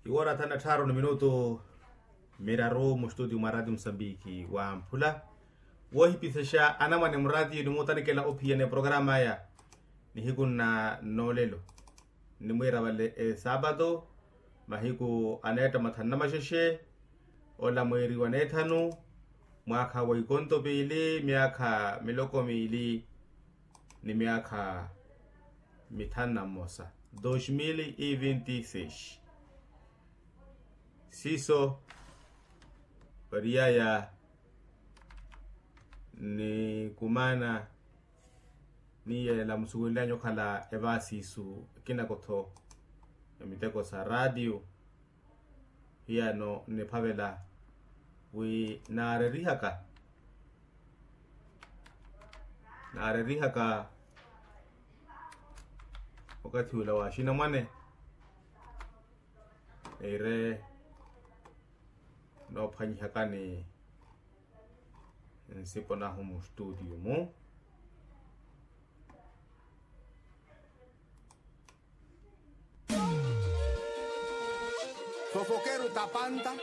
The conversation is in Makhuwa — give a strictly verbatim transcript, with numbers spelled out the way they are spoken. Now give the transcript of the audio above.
Iwoora thanu na tthaaru ni minutu miraru mustuti mwa rati musambiki wamphula, woohipisexa anamwane murati nimuutanikela ophiyana eprokarama aya. Nihiku nna noolelo nnimwiira vale esaapatu, mahiku aneetta mathanu na maxexe, ola mweeri wa neethanu, mwaakha wa ikonto piili myaakha miloko miili ni myaakha mithanu na mmosa, dos mil e vinte e seis. Siiso oriyaya ni kumaana niyeela musuwelilanyu okhala evaasiisu ekinako-tho emiteko sa raatiyo. Hiyano nniphavela wi naarerihaka naarerihaka okathi ula wa axinamwane niire noophwanyihakani nsipo nahu mustutiyo-mu. Fofokeru tapanta.